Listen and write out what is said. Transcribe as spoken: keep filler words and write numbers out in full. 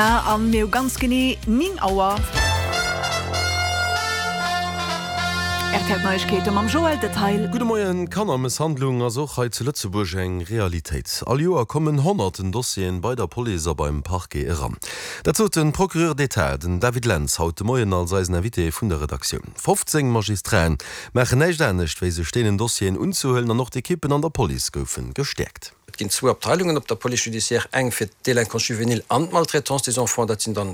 An mir hu ganz genee néng Auer. R T L Neiegkeete mam Joël Detail. Gudde Moien, Kannermësshandlung ass och hei zu Lëtzebuerg eng Realitéit. All Joer kommen honnerten Dossieren bei der Police a beim Parquet eran. Dat sot de Procureur d'État, den David Lentz, haut de Moien als eisen Invité vun der Redaktioun. fofzéng Magistraten maachen näischt anescht, wéi sech deenen Dossieren unzehuelen an och d'Ekippen an der Police goufe gestäerkt. Et ginn zwou Abteilungen op der Police judiciaire, eng fir d'Délinquance juvénile an d'Maltraitance des enfants, dat sinn dann